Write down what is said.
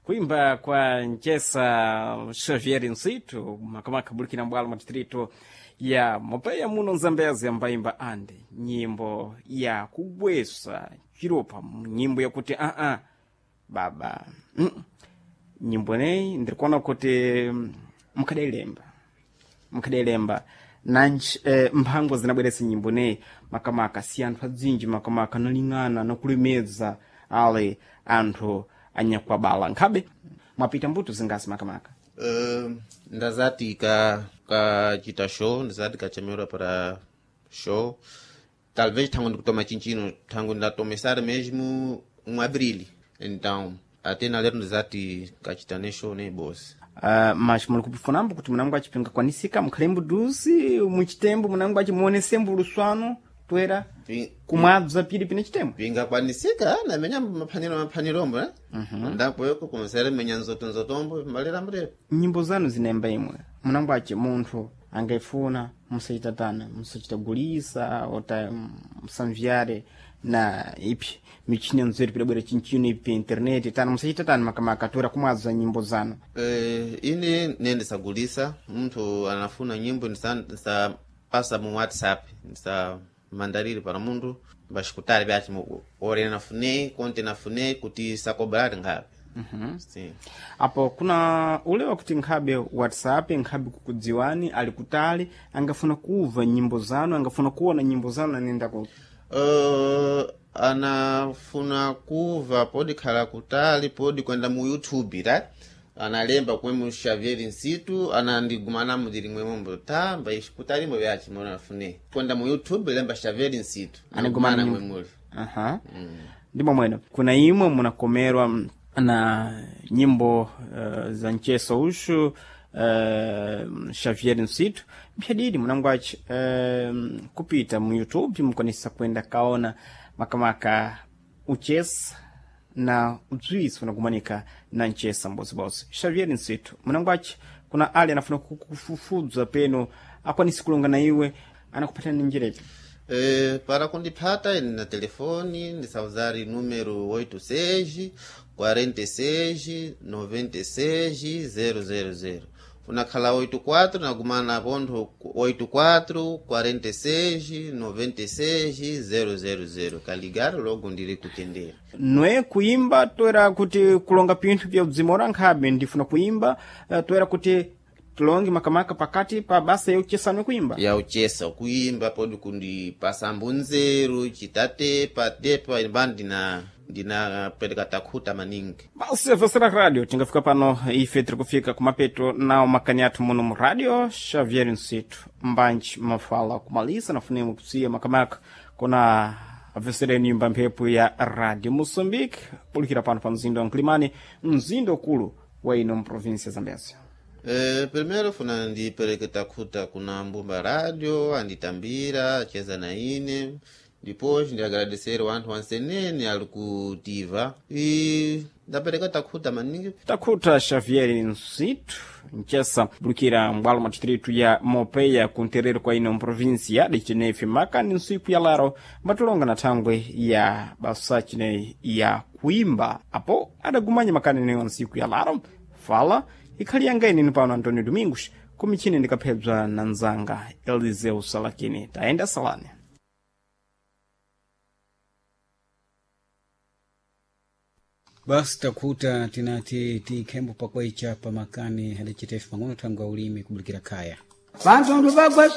Kuimba kwa Nchesa Xavier Nsitu makamaka bulikina mbwalo mwa distrito ya Mopeya muno Nzambezi ambaimba ande nyimbo ya kugwesa chiropa, nyimbo yakuti aa baba nyimbo neyi ndirikuona kuti mukadailemba mukadailemba nanji mphango zinabweresa nyimbo neyi makamaka si anthu adzinji makamaka analing'ana nakulemedza ale anthu anyakwabala nkhabe mwapita mbuto zingasi makamaka. Ndazati kachita show, ndazati kachemerwa para show, talvez thango ndikutoma chinchino thango ndatomesar mesmo um abril, então até na lero ndazati kachita ne show ne boss. Mas muli kupifunambo kuti munango achipinga kwanisika mukhalembo duzi muchitembo munango achimuonesembo luswano toera kumwabza pili pine chitembo. Pingakwanisika namenya maphaniro maphanirombo eh? Ndapoyoko kumesere menya nzoto nzotombo malera mrefu. Nyimbo zanu zinemba imwe munango achi munthu angaifuna musachitatana musachitagulisa ota musamvyare na ipi michini nzeru pidabwera chinchino ipi internet tana musachitatana makamaka toera kumwadza nyimbo zanu. Ine nendisagulisa munthu anafuna nyimbo ndisapasa mu WhatsApp, ndisa mandariri para munthu mbacikutali byaci ore nafune konte nafune kuti sakobrari nkhabe. Sim. Apo kuna ulewa kuti nkhabe WhatsApp nkhabe kukudziwani ali kutali angafuna kuva nyimbo zanu angafuna kuona nyimbo zanu anenda ku Anafuna kuva podi khala kutali podi kwenda mu YouTube right? Analemba kwemu Xavier Nsitu anandigumana mudiri mwemombo ta mbaixikutalimbo vyaci mona nafune kwenda mu YouTube lemba Xavier Nsitu Anigumana anigumana nyimbo. mwemuli. Aha. Ndimo mwene kuna imwe munakomerwa na nyimbo za mcheso ushu Xavier Nsitu mphadidi munangwaci kupita mu YouTube mukwanisa kwenda kaona makamaka uchesa na udzwisi unakumanika na mchesa mbozibozi Xavier Nsitu munangwaci kuna ali anafuna kukufufudza peno akwanisi kulonga na iwe anakupatana njirepi. Para kundipata ine na telefone ndisauzari número 86 46 96 000 unakhala 84 nagumana pontho 84 46 96 000 kaligaro logo ndiri kutendera. Nwe kuimba toera kuti kulonga pinthu pya udzimora nkhabe ndifuna kuimba toera kuti tilonge makamaka pakati pa basa yauchesa kuimba. Yauchesa kuimba podi kundipasa mbunzeru chitatepa tepa imba ndina pereka takhuta maningi. Basi vasera radio tingafika pano ife tiri kufika kumapeto nawo makani athu muno mu radio Xavier Nsitu mbanji mafala kumalisa nafunemo kusiya makamaka kuna avesereni nyumba mphepo ya Radio Moçambique bulikira pano pa mzinda wa Nkilimani mzinda ukulu wa ino mprovinsia ya Zambezia. Primeiro funa ndipereke takhuta kuna mbumba radio anditambira acheza na ine, depois ndiagradecer wanthu wansenene ali kutiva e ndapereka takhuta maningi. Takhuta Xavier Nsitu nchesa bulukira mbwalo mwa distritu ya Mopeya kunterero kwa ino mprovinsia de Chinefi makani nsiku ya laro mbatulonga na thangwe ya basa chineyi ya kuimba apo adagumanya makani neyo nsiku ya laro fala ikhali yanga inini pano Antonio Domingos kumichini ndikaphedzwa na nzanga Eliseu Salakini tayenda salani. Basi takhuta tinati tikhembo pakwaicha pamakani adacitefe pang'ono thangwe ulimi kubulikira khaya. Vantu vagwa.